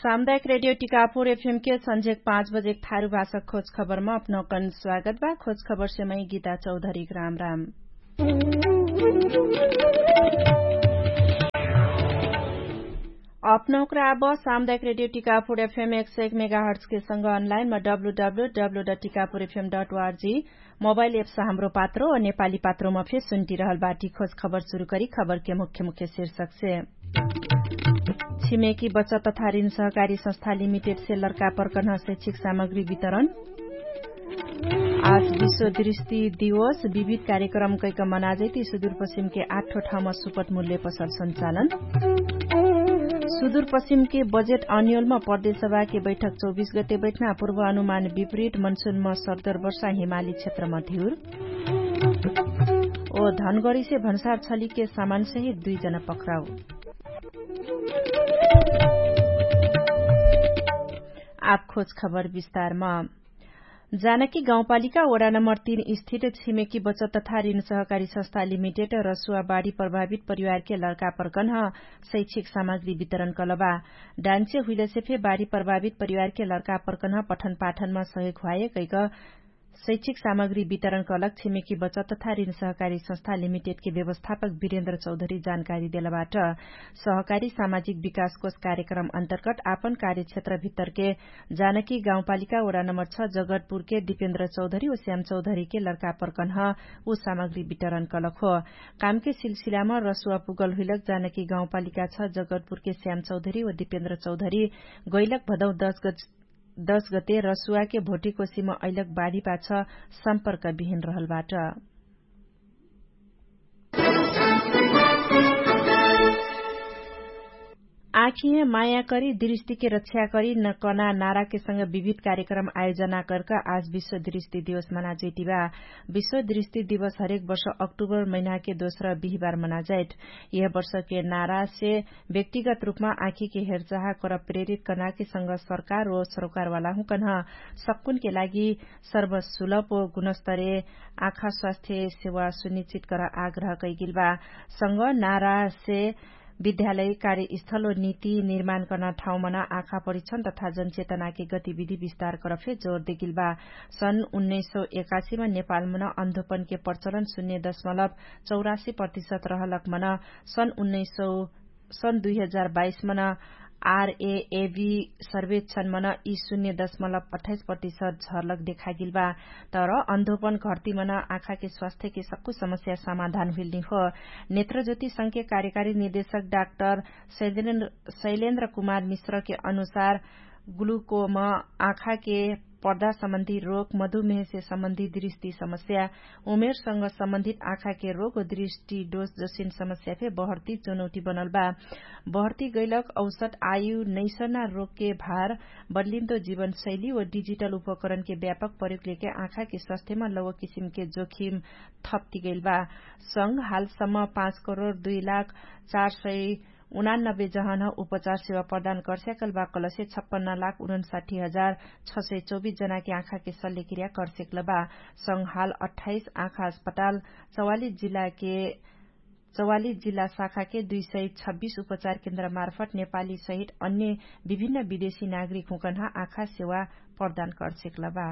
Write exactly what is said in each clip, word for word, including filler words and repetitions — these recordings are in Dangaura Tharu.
सामुदायिक रेडियो टिकापुर एफएम के सन्झेक पाँच बजेक थारु भाषा खोज खबरमा अपनौकन स्वागत बा। खोज खबर सेमै गीता चौधरीक राम राम। अपनौकरा अब सामुदायिक रेडियो टिकापुर एफएम एक सय एक मेगाहर्ट्सके सँग अनलाइनमा W W W dot Tikapur FM dot ORG mobile apps Hamro Patro व नेपाली पात्रोमा फे सुन्टिरहल बाटी। खोज खबर सुरु करी खबरके मुख्य मुख्य शीर्षकसे। छिमेकी बचत तथा ऋण सहकारी संस्था लिमिटेडसे लर्का पर्कन्ह शैक्षिक सामग्री वितरण। आज विश्व दृष्टि दिवस विविध कार्यक्रम कैक मनाजैती सुदूरपश्चिमके आठो ठाउँमा सुपट मूल्य पसल सञ्चालन। सुदूरपश्चिमके बजेट अन्योलमा प्रदेशसभाके बैठक चौबिस गते बैठना पूर्व अनुमान विपरीत मनसुनमा सर्दर वर्षा हिमाली क्षेत्रमा धिउर। ओ धनगरीसे भन्सार छलिके सामानसहित दुई जना पक्राउ। आप खोज खबर विस्तारमा। जानकी गाउँपालिका वडा नम्बर तीन स्थित छिमेकी बचत तथा ऋण सहकारी संस्था लिमिटेड रसुवा बाढी प्रभावित परिवारके लर्का पर्कन्ह शैक्षिक सामग्री वितरण कलबा। डान्चे हुइलसे फे बाढी प्रभावित परिवारके लर्का पर्कन्ह पठन पाठनमा सहयोग ह्वाए कैक शैक्षिक सामग्री वितरण कलक छिमेकी बचत तथा ऋण सहकारी संस्था लिमिटेडके व्यवस्थापक वीरेन्द्र चौधरी जानकारी देलबाट। सहकारी सामाजिक विकासकोष कार्यक्रम अन्तर्गत आपन कार्यक्षेत्र भित्तरके जानकी गाउँपालिका वडा नम्बर छ जगतपुरके दिपेन्द्र चौधरी व श्याम चौधरीके लर्का पर्कन्ह उ सामग्री वितरण कलक हो। कामके सिलसिलामा रसुवा पुगल हुइलक जानकी गाउँपालिका छ जगतपुरके श्याम चौधरी व दिपेन्द्र चौधरी गैलक भदौ दस गते रसुवाके भोटिकोसीमा अइलक बाढीपाछ सम्पर्क बिहिन रहलबाट। आँखिहे माया करी दृष्टिके रक्षा करी न कना नाराके संग विविध कार्यक्रम आयोजना करक आज विश्व दृष्टि दिवस मनाजैतिबा। विश्व दृष्टि दिवस हरेक वर्ष अक्टुबर महिनाके दोस्र बिहिबार मनाजैत। यह वर्षके नारासे व्यक्तिगत रूपमा आँखिके हेरचाह कर प्रेरित कनाके संग सरकार व सरोकारवाला हुँकन्ह सक्कुनके लागि सर्वसुलभ व गुणस्तरे आँखा स्वास्थ्य सेवा सुनिश्चित कर आग्रह कैगिलबा। संग नारासे विद्यालय कार्यस्थल व नीति निर्माण कर्ना ठाउँमन आँखा परिक्षण तथा जनचेतनाके गतिविधि विस्तार कर फे जोर देगिलबा। सन् उन्नैस सौ एकासीमा नेपालमन अन्धोपनके प्रचलन शून्य दशमलव चौरासी प्रतिशत रहलक मन सन् उन्नैस सौ सन् दुई हजार बाइस मन आरएएबी सर्वेक्षण मन यी शून्य दशमलव अठाइस प्रतिशत झरलक देखागिल बा। तर अन्धोपन घर्ती मन आँखाके स्वास्थ्यके सक्कु समस्या समाधान हुइलनी हो। नेत्रज्योति संघके कार्यकारी निर्देशक डाक्टर शैलेन्द्र कुमार मिश्रके अनुसार ग्लुकोम आँखाके पर्दा सम्बन्धी रोग मधुमेहसे सम्बन्धी दृष्टि समस्या उमेरसँग सम्बन्धित आँखाके रोग व दृष्टि डोज जसिन समस्या फे बहर्ती चुनौटी बनल बा। बहर्ती गैलक औसत आयु नैसना रोगके भार बदलिन्तो जीवनशैली व डिजिटल उपकरणके व्यापक प्रयोगलेके आँखाके स्वास्थ्यमा लौकिसिमके जोखिम थप्तिगैल बा। संग हालसम्म पाँच करोड दुई लाख चार सय उनानब्बे जहन उपचार सेवा प्रदान कर्स्याकल बा कलसे छप्पन्न लाख उनन्साठी हजार छ सय चौबिस जनाके आँखाके सल्लेक्रिया कर्स्याकल बा। संग हाल अठाइस आँखा अस्पताल चवालिस जिल्लाके चवालिस जिल्ला शाखाके दुई सय छब्बिस उपचार केन्द्र मार्फत नेपाली सहित अन्य विभिन्न विदेशी नागरिक हुँकन्हा आँखा सेवा प्रदान कर्स्याकल बा।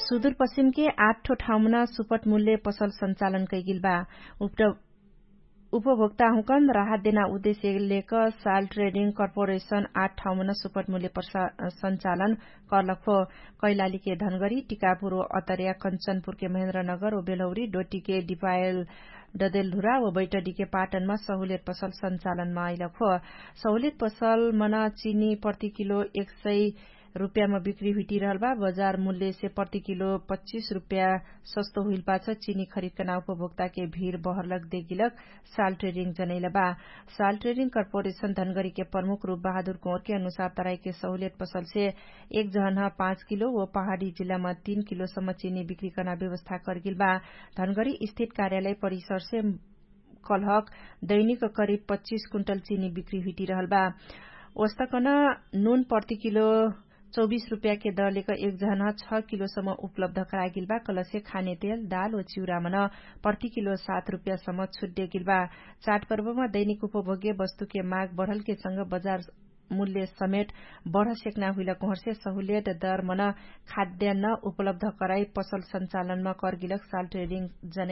सुदूरपश्चिमके आठ ठो ठाउँमन सुपट मूल्य पसल सञ्चालन कैगिल बा। उपभोक्ता हुँकन राहत देना उद्देश्य लेक साल ट्रेडिङ कर्पोरेशन आठ ठाउँमन सुपट मूल्य सञ्चालन कर्लक हो। कैलालीके धनगरी टिकापुर व अतर्या कञ्चनपुरके महेन्द्रनगर व बेलौरी डोटीके डिपायल डदेलधुरा व बैटडीके पाटनमा सहुलियत पसल सञ्चालनमा अइलक हो। सहुलियत पसलमन चिनी प्रति किलो एक सय रुप्यामा बिक्री हुइटिरहल बा। बजार मूल्यसे प्रति किलो पच्चिस रुप्या सस्तो हुइलपाछ चिनी खरिदकना उपभोक्ताके भिड बहरलक देगिलक साल ट्रेडिङ जनैल बा। साल ट्रेडिङ कर्पोरेशन धनगरीके प्रमुख रूप बहादुर कोरके अनुसार तराइके सहुलियत पसलसे एक जहन पाँच किलो व पहाडी जिल्लामा तीन किलोसम्म चिनी बिक्री कर्ना व्यवस्था कर्गिल बा। धनगरी स्थित कार्यालय परिसरसे कलहक दैनिक करिब पच्चिस कुन्टल चिनी बिक्री हुइटिरहल बा। ओस्तकन नुन प्रति किलो चौबिस रुपैयाके दरलेक एक जहन छ किलोसम्म उपलब्ध करागेल बा। कलसे खाने तेल दाल व चिउरामन प्रति किलो सात रुपैयासम्म छुट्यागेल बा। चाडपर्वमा दैनिक उपभोग्य वस्तुके माग बढलके संग बजार मूल्य समेट बढसेक्ना हुइलक उहर्से सहुलेट दरमन खाद्यान्न उपलब्ध कराई पसल सञ्चालनमा करगेलक साल ट्रेडिङ जनै।